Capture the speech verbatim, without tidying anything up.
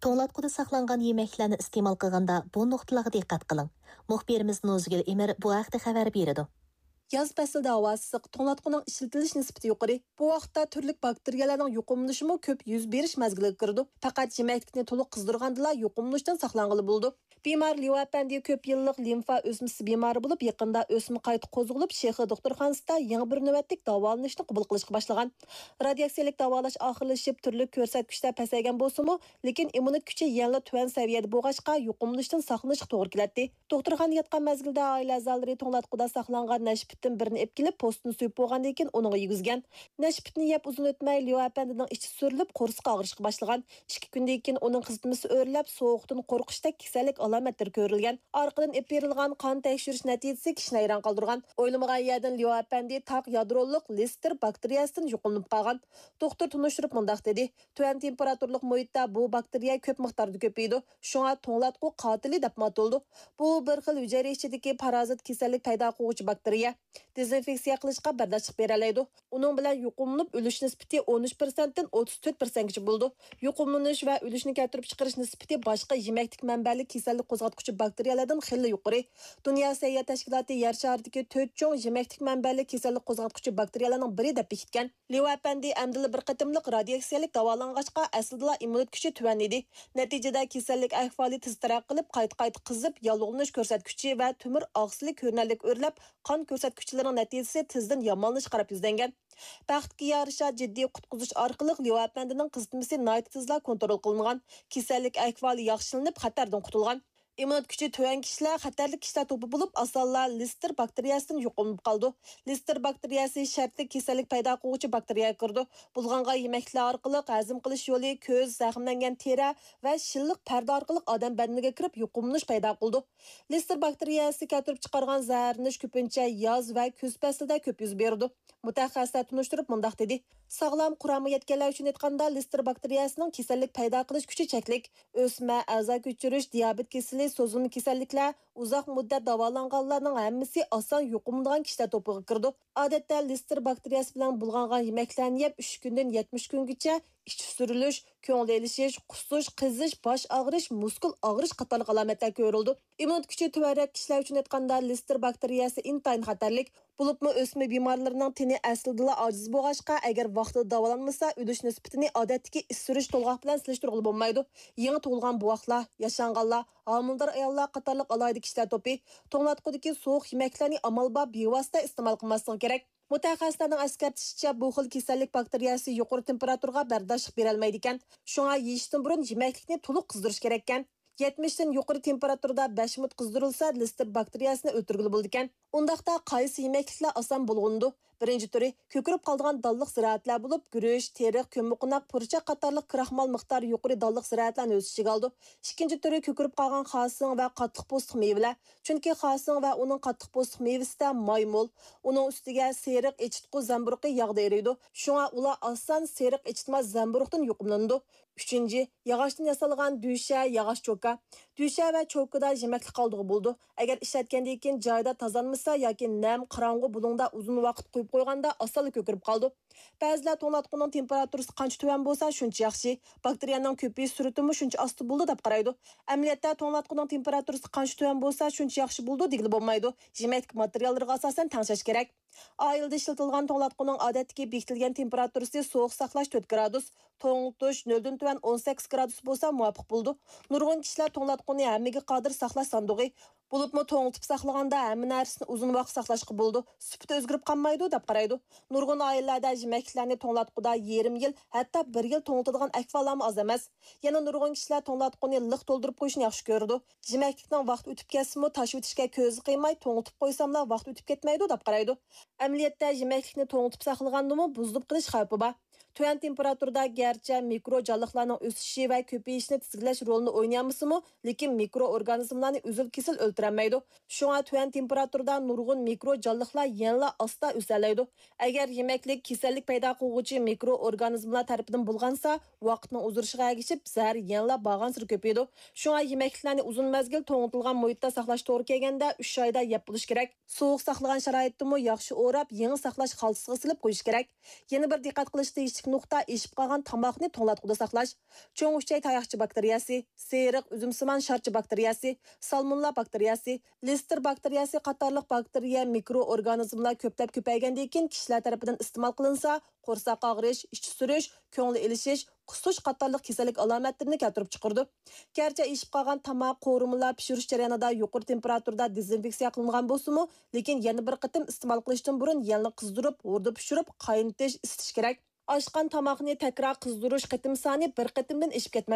توڭلاتقۇدا ساقلانغان يېمەكلىكلەرنى ئىستېمال قىلغاندا بۇ نۇقتىلارغا دىققەت قىلىڭ. مۇخبىرىمىز نۇزگۈل ئېمىر بۇ ھەقتە خەۋەر بېرىدۇ. ياز پەسلىدە ھاۋا ئىسسىق، توڭلاتقۇنىڭ ئىشلىتىلىش نىسبىتى يۇقىرى. بۇ ۋاقىتتا تۈرلۈك باكتېرىيەلەرنىڭ يۇقۇملىنىشىمۇ كۆپ يۈز بېرىش مەزگىلىگە كىرىدۇ. پەقەت يېمەكلىكنى تولۇق قىزدۇرغاندىلا يۇقۇملىنىشتىن ساقلانغىلى بولىدۇ. بىمار ليۇ ئەپەندى كۆپ يىللىق لىمفا ئۆسمىسى بىمارى بولۇپ، يېقىندا ئۆسمە قايتا قوزغىلىپ، شېخې دوختۇرخانىسىدا يېڭى بىر نۆۋەتلىك داۋالىنىشنى قوبۇل قىلىشقا باشلىغان. رادىياتسىيەلىك داۋالاش ئاخىرلىشىپ، تۈرلۈك كۆرسەتكۈچلەر پەسەيگەن بولسىمۇ، لېكىن ئىممۇنىتېت كۈچى يەنىلا تۆۋەن سەۋىيەدە بولغاچقا، يۇقۇملىنىشتىن ساقلىنىشقا توغرا كېلەتتى. دوختۇرخانىدا ياتقان مەزگىلدە ئائىلە ئەزالىرى توڭلاتقۇدا ساقلانغان نەشپۈتتىن بىرنى ئېلىپ كېلىپ، پوستىنى سۆيۈپ بولغاندىن كېيىن ئۇنىڭغا يېگۈزگەن. نەشپۈتنى يەپ ئۇزۇن ئۆتمەي، ليۇ ئەپەندىنىڭ ئىچى سۈرۈلۈپ، قورسىقى ئاغرىشقا باشلىغان. ئىككى كۈندىن كېيىن ئۇنىڭ قىزىتمىسى ئۆرلەپ، سوغۇقتىن قورقۇشتەك كېسەللىك ئالامەتلىرى كۆرۈلگەن. ئارقىدىن ئېلىپ بېرىلغان قان تەكشۈرۈش نەتىجىسى كىشىنى ھەيران قالدۇرغان. ئويلىمىغان يەردىن ليۇ ئەپەندى تاق يادرولۇق لېستېر باكتېرىيەسىدىن يۇقۇملىنىپ قالغان. دوختۇر تونۇشتۇرۇپ مۇنداق دېدى: تۆۋەن تېمپېراتۇرىلىق مۇھىتتا بۇ باكتېرىيە كۆپ مىقداردا كۆپىيىدۇ، شۇڭا توڭلاتقۇ قاتىلى دەپمۇ ئاتىلىدۇ. بۇ بىر خىل ھۈجەيرە ئىچىدىكى پارازىت كېسەللىك پەيدا قىلغۇچى باكتېرىيە. دېزىنفېكسىيە قىلىشقا بەرداشلىق بېرەلەيدۇ. ئۇنىڭ بىلەن يۇقۇملىنىپ ئۆلۈش نىسبىتى ئون ئۈچ پىرسەنتتىن ئوتتۇز تۆت پىرسەنتكىچە بولىدۇ. يۇقۇملىنىش ۋە ئۆلۈشنى كەلتۈرۈپ چىقىرىش نىسبىتى باشقا يېمەكلىك مەنبەلىك كېسەللىك قوزغاتقۇچى باكتېرىيەلەردىن خېلىلا يۇقىرى. دۇنيا سەھىيە تەشكىلاتى يەر شارىدىكى تۆت چوڭ يېمەكلىك مەنبەلىك كېسەللىك قوزغاتقۇچى باكتېرىيەلەرنىڭ بىرى دەپ بېكىتكەن. ليۇ ئەپەندى ئەمدىلا بىر قېتىملىق رادىياتسىيەلىك داۋالانغاچقا، ئەسلىدىلا ئىممۇنىتېت كۈچى تۆۋەن ئىدى. نەتىجىدە كېسەللىك ئەھۋالى تېز تەرەققىي قىلىپ، قايتا-قايتا قىزىپ، ياللۇغلىنىش كۆرسەتكۈچى ۋە تۆمۈر ئاقسىلى كۆرۈنەرلىك ئۆرلەپ، قان كۆرسەتكۈچلىرىنىڭ نەتىجىسى تېزدىن يامانلىشىشقا قاراپ يۈزلەنگەن. بەختكە يارىشا، جىددىي قۇتقۇزۇش ئارقىلىق ليۇ ئەپەندىنىڭ قىزىتمىسى ناھايىتى تېزلا كونترول قىلىنغان، كېسەللىك ئەھۋالى ياخشىلىنىپ، خەتەردىن قۇتۇلغان. ئىممۇنىتېت كۈچى تۆۋەن كىشىلەر خەتەرلىك كىشىلەر توپى بولۇپ، ئاسانلا لېستېر باكتېرىيەسىدىن يۇقۇملىنىپ قالىدۇ. لېستېر باكتېرىيەسى شەرتلىك كېسەللىك پەيدا قىلغۇچى باكتېرىيەگە كىرىدۇ. بۇلغانغان يېمەكلىكلەر ئارقىلىق ھەزىم قىلىش يولى، كۆز، زەخىملەنگەن تېرە ۋە شىللىق پەردە ئارقىلىق ئادەم بەدىنىگە كىرىپ، يۇقۇملىنىش پەيدا قىلىدۇ. لېستېر باكتېرىيەسى كەلتۈرۈپ چىقارغان زەھەرلىنىش كۆپىنچە ياز ۋە كۈز پەسلىدە كۆپ يۈز بېرىدۇ. مۇتەخەسسىسلەر تونۇشتۇرۇپ مۇنداق دېدى: ساغلام قۇرامىغا يەتكەنلەر ئۈچۈن ئېيتقاندا، لېستېر باكتېرىيەسىنىڭ كېسەللىك پەيدا قىلىش كۈچى چەكلىك. ئۆسمە، ئەزا كۆچۈرۈش، دىيابېت كېسىلى، سوزۇلما كېسەللىكلەر، ئۇزاق مۇددەت داۋالانغانلارنىڭ ھەممىسى ئاسان يۇقۇملىنىدىغان كىشىلەر توپىغا كىرىدۇ. ئادەتتە لېستېر باكتېرىيەسى بىلەن بۇلغانغان يېمەكلەرنى يەپ، ئۈچ كۈندىن يەتمىش كۈنگىچە ئىچى سۈرۈلۈش، كۆڭۈل ئېلىشىش، قۇسۇش، قىزىش، باش ئاغرىش، مۇسكۇل ئاغرىش قاتارلىق ئالامەتلەر كۆرۈلىدۇ. ئىممۇنىتېت كۈچى تۆۋەنرەك كىشىلەر ئۈچۈن ئېيتقاندا، لېستېر باكتېرىيەسى ئىنتايىن خەتەرلىك. بولۇپمۇ ئۆسمە بىمارلىرىنىڭ تېنى ئەسلىدىلا ئاجىز بولغاچقا، ئەگەر ۋاقتىدا داۋالانمىسا، ئۆلۈش نىسبىتىنى ئادەتتىكى ئىچى سۈرۈش تولغاق بىلەن سېلىشتۇرغىلى بولمايدۇ. يېڭى تۇغۇلغان بوۋاقلار، ياشانغانلار، ھامىلىدار ئاياللار قاتارلىق ئالاھىدە كىشىلەر توپى، توڭلاتقۇدىكى سوغۇق يېمەكلىكلەرنى ئامال بار بىۋاسىتە ئىستېمال قىلماسلىقى كېرەك. مۇتەخەسسىسلەرنىڭ ئەسكەرتىشىچە، بۇ خىل كېسەللىك باكتېرىيەسى يۇقىرى تېمپېراتۇرىغا بەرداشلىق بېرەلمەيدىكەن. شۇڭا يېيىشتىن بۇرۇن يېمەكلىكنى تولۇق قىزدۇرۇش كېرەككەن. يەتمىشتىن يۇقىرى تېمپېراتۇرىدا بەش مىنۇت قىزدۇرۇلسا، لېستېر باكتېرىيەسىنى ئۆلتۈرگىلى بولىدىكەن. ئۇنداقتا قايسى يېمەكلىكلەر ئاسان بۇلغىنىدۇ؟ بىرىنچى تۈرى، كۆكىرىپ قالىدىغان دانلىق زىرائەتلەر بولۇپ، گۈرۈچ، تېرىق، كۆممىقوناق، پۇرچاق قاتارلىق كراخمال مىقدارى يۇقىرى دانلىق زىرائەتلەرنى ئۆز ئىچىگە ئالىدۇ. ئىككىنچى تۈرى، كۆكىرىپ قالغان خاسىڭ ۋە قاتتىق پوستلۇق مېۋىلەر. چۈنكى خاسىڭ ۋە ئۇنىڭ قاتتىق پوستلۇق مېۋىسىدە ماي مول. ئۇنىڭ ئۈستىگە سېرىق ئېچىتقۇ زەمبۇرۇغى ياغدا ئېرىيدۇ. شۇڭا ئۇلار ئاسان سېرىق ئېچىتماس زەمبۇرۇغدىن يۇقۇملىنىدۇ. ئۈچىنچى، ياغاچتىن ياسالغان دۈشە، ياغاچ چوكا. دۈشە ۋە چوكىدا يېمەكلىك قالدۇرغىلى بولىدۇ. ئەگەر ئىشلەتكەندىن كېيىن جايىدا تازىلانمىسا ياكى نەم، قاراڭغۇ بۇلۇڭدا ئۇزۇن ۋاقىت قويۇپ قويغاندا ئاسانلا كۆكىرىپ قالىدۇ. بەزىلەر توڭلاتقۇنىڭ تېمپېراتۇرىسى قانچە تۆۋەن بولسا، شۇنچە ياخشى، باكتېرىيەنىڭ كۆپىيىش سۈرئىتىمۇ شۇنچە ئاستا بولىدۇ، دەپ قارايدۇ. ئەمەلىيەتتە، توڭلاتقۇنىڭ تېمپېراتۇرىسى قانچە تۆۋەن بولسا، شۇنچە ياخشى بولىدۇ دېگىلى بولمايدۇ. يېمەكلىك ماتېرىياللىرىغا ئاساسەن تەڭشەش كېرەك. ئائىلىدە ئىشلىتىلىدىغان توڭلاتقۇنىڭ ئادەتتىكى بېكىتىلگەن تېمپېراتۇرىسى سوغۇق ساقلاش تۆت گرادۇس، توڭلىتىش نۆلدىن تۆۋەن ئون سەككىز گرادۇس بولسا مۇۋاپىق بولىدۇ. نۇرغۇن كىشىلەر توڭلاتقۇنى ھەممىگە قادىر ساقلاش ساندۇقى، بولۇپمۇ توڭلىتىپ ساقلىغاندا ھەممە نەرسىنى ئۇزۇن ۋاقىت ساقلاشقا بولىدۇ، سۈپىتى ئۆزگىرىپ قالمايدۇ، دەپ قارايدۇ. نۇرغۇن ئائىلىلەردە يېمەكلىكلەرنى توڭلاتقۇدا يېرىم يىل، ھەتتا بىر يىل توڭلىتىدىغان ئەھۋاللارمۇ ئاز ئەمەس. يەنە نۇرغۇن كىشىلەر توڭلاتقۇنى لىق تولدۇرۇپ قويۇشنى ياخشى كۆرىدۇ. يېمەكلىكنىڭ ۋاقتى ئۆتۈپ كەتسىمۇ، تاشلىۋېتىشكە كۆزى قىيماي، توڭلىتىپ قويساملا ۋاقتى ئۆتۈپ كەتمەيدۇ، دەپ قارايدۇ. ئەمەلىيەتتە، يېمەكلىكنى توڭلىتىپ ساقلىغاندىمۇ بۇزۇلۇپ قېلىش خەۋپى بار. تۆۋەن تېمپېراتۇرىدا گەرچە مىكرو جانلىقلارنىڭ ئۆسۈشى ۋە كۆپىيىشىنى تىزگىنلەش رولىنى ئوينىيالمىسىمۇ، لېكىن مىكرو ئورگانىزملارنى ئۈزۈل-كېسىل ئۆلتۈرەلمەيدۇ. شۇڭا تۆۋەن تېمپېراتۇرىدا نۇرغۇن مىكرو جانلىقلار يەنىلا ئاستا ئۆسەلەيدۇ. ئەگەر يېمەكلىك كېسەللىك پەيدا قىلغۇچى مىكرو ئورگانىزملار تەرىپىدىن بۇلغانسا، ۋاقىتنىڭ ئۇزىرىشىغا ئەگىشىپ، زەھەر يەنىلا بارغانسېرى كۆپىيىدۇ. شۇڭا يېمەكلىكلەرنى ئۇزۇن مەزگىل توڭلىتىلغان مۇھىتتا ساقلاش توغرا كەلگەندە، ئۈچ ئايدا يەپ بولۇش كېرەك. سوغۇق ساقلىغان شارائىتتىمۇ ياخشى ئوراپ، يېڭى ساقلاش خالتىسىغا سېلىپ قويۇش كېرەك. يەنە بىر دىققەت قىلىشتا كىچىك نۇقتا ئېشىپ قالغان تاماقنى توڭلاتقۇدا ساقلاش. چوڭ ئۈچەي تاياقچە باكتېرىيەسى، سېرىق ئۈزۈم سىمان شارچە باكتېرىيەسى، سالمونېللا باكتېرىيەسى، لېستېر باكتېرىيەسى قاتارلىق باكتېرىيە، مىكرو ئورگانىزملار كۆپلەپ كۆپەيگەندىن كېيىن كىشىلەر تەرىپىدىن ئىستېمال قىلىنسا، قورساق ئاغرىش، ئىچى سۈرۈش، كۆڭلى ئېلىشىش، قۇسۇش قاتارلىق كېسەللىك ئالامەتلىرىنى كەلتۈرۈپ چىقىرىدۇ. گەرچە ئېشىپ قالغان تاماق، قورۇمىلار پىشۇرۇش جەريانىدا يۇقىرى تېمپېراتۇرىدا دېزىنفېكسىيە قىلىنغان بولسىمۇ، لېكىن يەنە بىر قېتىم ئىستېمال قىلىشتىن بۇرۇن يەنىلا قىزدۇرۇپ، ھوردىن پىشۇرۇپ، قاينىتىش، ئىسىتىش كېرەك. ئاشقان تاماقنى تەكرار قىزدۇرۇش قېتىم سانى بىر قېتىمدىن ئېشىپ كەتمەسلىك.